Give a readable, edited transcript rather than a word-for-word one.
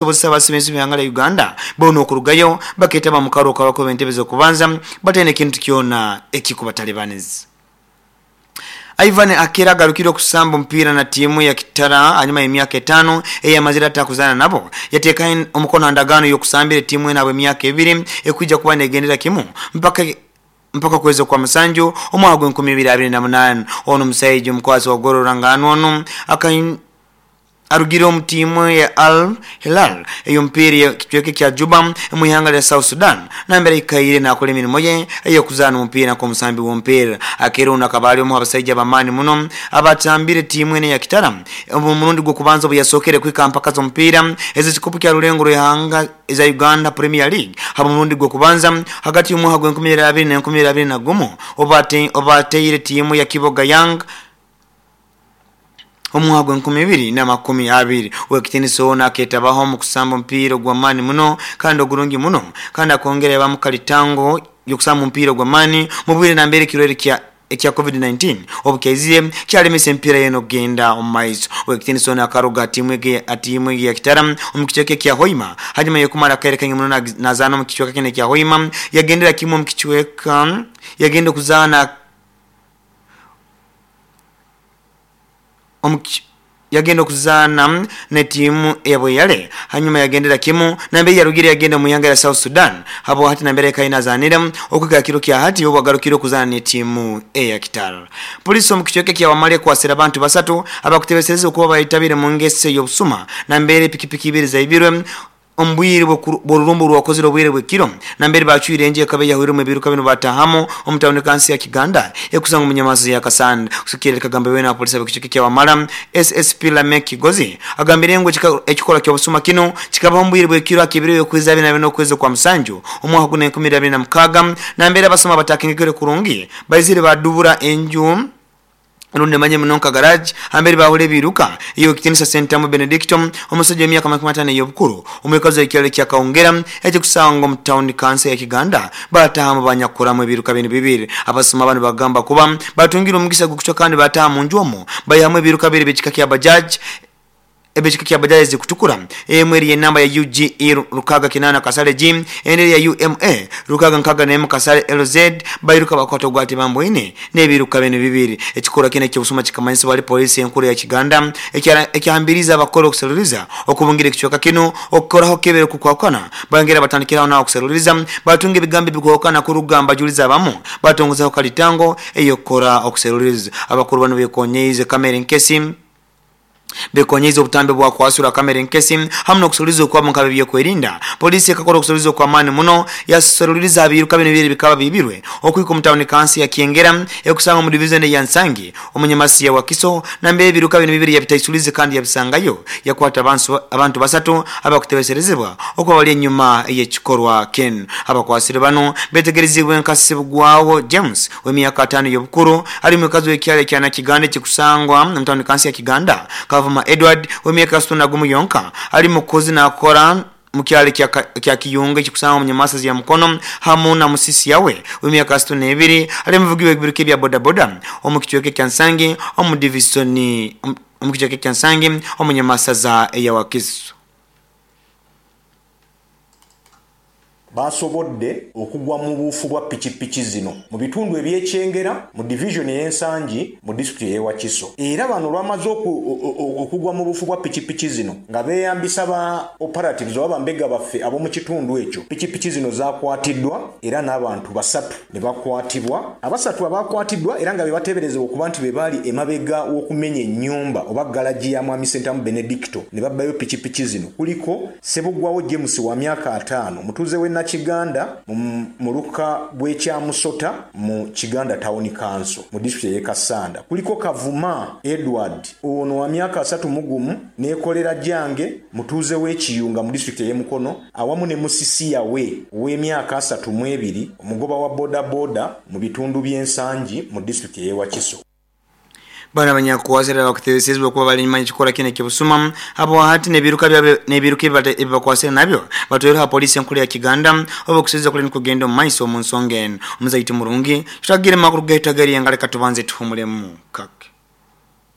Okusobozesa abasibe b'ihanga lya Uganda boona okurugayo baketaba mu kalulu ak'abakubi b'entebe z'okubanza bataine kintu kyona ekikubatalibaniza. Ivan Akera agarukire okusamba omupiira na tiimu ya Kitara hanyuma y'emyaka etaano eyamazire atakuzaana nabo. Yateeka omukono ha ndagaano y'okusambira etiimu eno habw'emyaka ebiri ekwija kuba negendera kimu mpaka mpaka okwezi okwa musanju omwaka gw'enkumi ibiri abiri na munaana. Ono omusaija omukwasi wa goolo ruranganwa ono Arugire omu tiimu ya Al Hilal ey'omupiira ey'ekicweka ekya Juba omu ihanga lya South Sudan nambere aikaire naakora emirimo ye ey'okuzaana omupiira nk'omusambi w'omupiira. Akeera onu akaba ali omu h'abasaija ab'amaani muno abatambire tiimu enu eya Kitara omu murundi gw'okubanza obuyasookere kuhika ha mpaka z'omupiira ez'ekikopo kya rulengo rw'ihanga eza Uganda Premier League habw'omurundi gw'okubanza hagati y'omwaka gw'enkumi ibiri abiri n'enkumi ibiri abiri na gumu obu bateire tiimu ya Kiboga Young Omwaka gw'enkumi ibiri na makumi abiri, ow'ekitiinisa ono akeetabaho omu kusamba omupiira ogw'amaani muno kandi ogurungi muno kandi akongera yabamu kalitango y'okusamba omupiira ogw'amaani mu bwire nambere ekirwaire kya ekya Covid 19 obu kyaizire kyalemesa emipiira yoona okugenda omu maiso. Ow'ekitiinisa ono akaruga ha tiimu egi ha tiimu egi eya Kitara omu kicweka ekya Hoima hanyuma y'okumara akaire kaingi muno nazaana omu kicweka kinu ekya Hoima yagendera kimu omu kicweka yagenda okuzaana Yagenda okuzaana n'etiimu eya Bweyale hanyuma yagendera kimu nambere yarugire yagenda omu ihanga lya South Sudan habwa hati nambere aikaire nazaanira okuhika ha kiro kya hati obu agarukire okuzaana n'etiimu eya Kitara. Poliisi omu kicweka ekya Wamala ekwasire abantu basatu abakutebeserezibwa kuba baitabire omu ngeso ey'obusuma nambere pikipiki ibiri zaibirwe Omu bwire bw'orurumba orwakozire obwire bw'ekiro, nambere baacwire enju ekaba eyahwirwemu ebiiruka binu baataahamu omu tawuni kansi ya Kiganda ekusangwa omu nyamaso ya Kasanda. Kusigikirra ekagamba weena abapoliisi ab'ekicweka ekya Wamala, SSP Lameck Kigozi agambire ngu ekikorwa ky'obusuma kinu kikabaho omu bwire bw'ekiro aha k'ebiro y'okwezi abiri nabina okwezi okwa musanju omwaka guno enkumi ibiri abiri na mukaaga nambere abasuma abatakengekere kurungi baizire baadubura enju rundi manye muno nka garage hamberi baahura ebiiruka ey'owekitinisa Sentamu Benedicto omusaija w'emyaka makumi ataano ey'obukuru omwikazi w'ekyaro ekya Kaongera ekikusangwa omu tawuni kanso ya Kiganda baatahamu banyakuramu ebiiruka binu bibiri. Abasuma banu bagamba kuba batungire omugisa gw'okucwa kandi baataha munju omu baihamu ebiiruka biri eby'ekika kya Bajaj Ebicweka kya bajaji ezikutukura, emwe eri y'enamba ya UGE rukaaga kinaana kasale G, endi eri ya UMA rukaaga nkaaga n'emu kasale LZ, bairuka bakwata ogwa Tibamboine n'ebiruka binu bibiri. Ekikorwa kinu eky'obusuma kikamanyisibwa hali poliisi enkuru eya Kiganda ekyahambiriize abakora okuseruliriza okubungira ekicweka kinu okukoraho kebere okukwahukana. Bayongera batandikiraho naho okuseruliriza batunga ebigambo ebikwahukana kuruga mubajulizi abamu batongozaho kalitango ey'okukora okuseruliriza. Abakuru banu bekonyeize kamera enkesi. Bekonyiize obutambi bwa kwasura kamera enkesi hamu n'okuseruliza okwabo nk'ab'ebyokwerinda. Poliisi ekakora okuseruliza okw'amaani muno yaseruliza ha biiruka binu ebibiri ebikaba biibirwe okuhika omu tawuni kansi ya Kyengera ekusangwa omu divizoni eya Nsangi omu nyamasi ya Wakiso nambere ebiiruka binu bibiri yabitaisulize kandi yabisangayo yakwata abantu basatu abakutebeserezebwa okuba bali enyuma y'ekikorwa kinu. Abakwasirwe banu betegereziibwe nka Ssebugwawo James w'emyaka ataano ey'obukuru, Ali mwikazi w'ekyaro ekya Nakiganda ekikusangwa omu tawuni kansi ya Kiganda, Kavuma Edward ow'emyaka asatu na gumu yonka ali mukozi nakora mu kyaro ekya Kiyunga ekikusangwa omu nyamasazi ya Mukono hamu na Musisi Yawe ow'emyaka asatu n'ebiri ali muvugi w'ebiruka ebya bodaboda omu kicweka ekya Nsangi omu divisoni omu kicweka ekya Nsangi omu nyamasaza eya Wakiso. Baasobodde okugwa mu buufu bwa pikipiki zino mu bitundu eby'e Kyengera mu divizoni ey'e Nsangi mu disitulikiti ey'e Wakiso era bano olwamaze okugwa mu buufu bwa pikipiki zino nga beeyambisa ba operatives oba bambega baffe ab'omu kitundu ekyo, pikipiki zino zaakwatiddwa era n'abantu basatu ne bakwatibwa. Abasatu abaakwatiddwa era nga be bateeberezebwa okuba nti be baali emabega w'okumenya ennyumba oba galagi ya Mwami Ssentamu Benedicto ne babbayo pikipiki zino kuliko, Ssebuggwawo James wa myaka ataano mutuuze w'e Nakiganda mu muluka gw'e Kyamusota mu Kiganda Town Council mu disitulikiti ey'e Kassanda. Kuliko Kavuma Edward ono wa myaka 31 Neekoleragyange mutuuze w'e Kiyunga mu disitulikiti ey'e Mukono awamu ne Musisi Yawe ow'emyaka 32 omugoba wa bodaboda mu bitundu by'e Nsangi mu disitulikiti ey'e Wakiso. Bano abanyakukwasire abakutebeserezibwa kuba bali enyuma y'ekikorwa kinu eky'obusuma habwahati n'ebiruka byabo n'ebiruka ebibakwasire nabyo batwaireho ha poliisi enkuru ya Kiganda obu okuseruliza kuli nikugenda omu maiso omu nsonga enu. Omuzaiti murungi, tutagire makuru gaitu ag'erienga leka tubanze tuhumulemu kake.